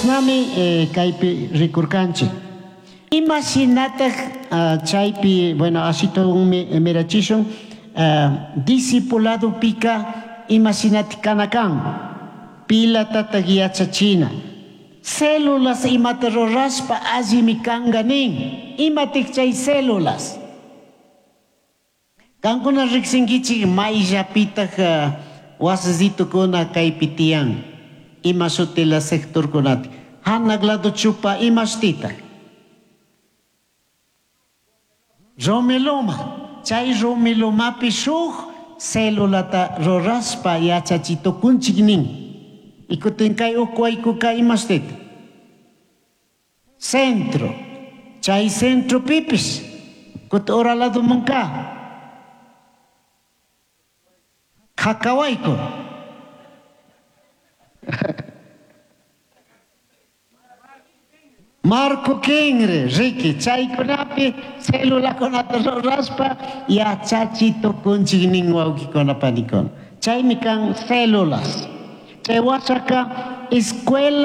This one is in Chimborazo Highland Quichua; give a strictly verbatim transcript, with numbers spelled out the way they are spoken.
Chashnami eh, kaypi rikurkanchik. Ima shinataj ah, chaypi, bueno, ashitunmi mirachishun, ah, discipuladopika ima shinatik kana kan, pilatataj yachachina. Células imata rurashpa allimi kanka nin. Imatik chay células? Kankuna riksinkichik mayllapitaj ah, wasisitukuna kaypi tiyan. Ima shutila sectorkunata. Hanak lado chupa ima shutitaj? Romiloma. Chay romilomapi shuk celulata rurashpa yachachitukunchik nin. Y kutin kay ukwaykuka ima shutita? Centro. Chay centro pipis. Kutin ura lado munka. Kakawayku. Marco Kinri, Ricky, chaykunapi celulakunata rurashpa yachachi tukunchik nin wawkikuna panikuna. Chaymi kan células. Chay washaka escuela